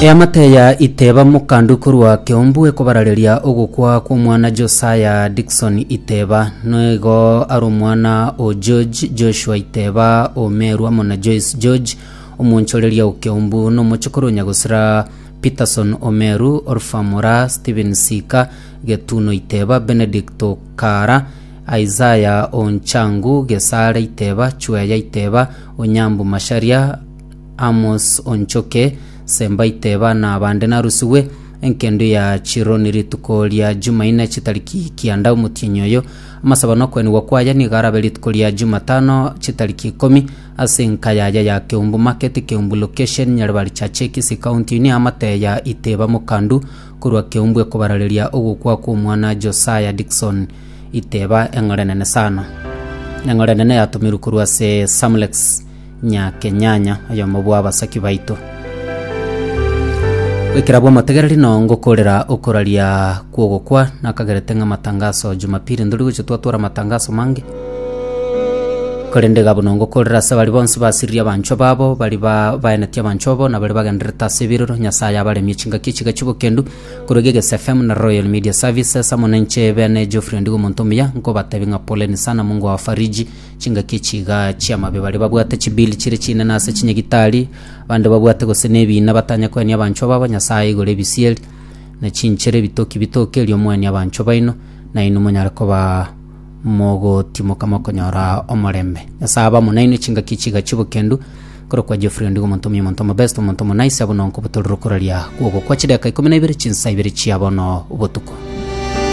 Eamate ya Iteba Mokandu korwa Keumbu ekobarareria ogokwa kw'omwana Josiah Dickson Iteba. Nigo are omwana o George Joshua Iteba o Meru amo na Joyce George omonchoreria o Keumbu na omochokoro o Nyagosira Peterson Omeru, Orpha Mora, Stephen Sika, Getuno Iteba, Benedict Okara, Isaiah Onchangu, Gesare Iteba, Chweya Iteba, Onyambu Macharia, Amos Onchoke, Semba Iteba na abande narusigwe enkendo ya Chironi rituko ria Jumaine chitariki kianda omotienyi oyo. Amasabo na okoenigwa kwaye nigo arabe rituko ria Jumatano chitariki ikomi ase enka yaye ya Keumbu Market, Keumbu Location, Nyaribari Chache, Kisii County. Oyio neamate ya Iteba Mokandu korwa Keumbu ekobarareria ogokwa kw'omwana Josiah Dickson Iteba eng'ora enene sana. Eng'ora enene yatomirwe korwa ase Samlex Nyakenyanya, oyomo bw'abasaki baito. Goikera bw'omotegereri noo ngokorera okoraria kw'ogokwa nakagerete ng'a amatangaso Jumapili ntori gocha twatwara amatangaso mange. Korende iga buna ngokorera ase baria bonsi basiririe abanchwa babo, baria ba baenetie abanchwa babo, na baria bagendererete ase ebirero, Nyasaye abaremie chingaki echiga chi'obokendu, korwa Gegesa FM na Royal Media Services, amo nainche bene Geoffrey Ondigo omonto omuya, nkobatebia ng'a poleni sana Mungu awafariji, Chingaki echi iga chi'amabe baria babwate chibill chire chinene ase chinyagitari, abande babwate gose nebiina batanya koenia abanchwa babo, Nyasae aigore ebisieri, na chinchera ebitoki bitoke erio moenie abanchwa baino, na inwe monyare koba mogotimoka mokonyora omorembe. Nyasae abe amo nainwe chingaki echi iga chi'obokendu, korokwa Geoffrey Ondigo omonto omuya omonto omobest omonto omonaisi abwo nonko botorire okoraria kw'ogokwa chidakika ikomi na ibere chinsa ibere chia bono botuko.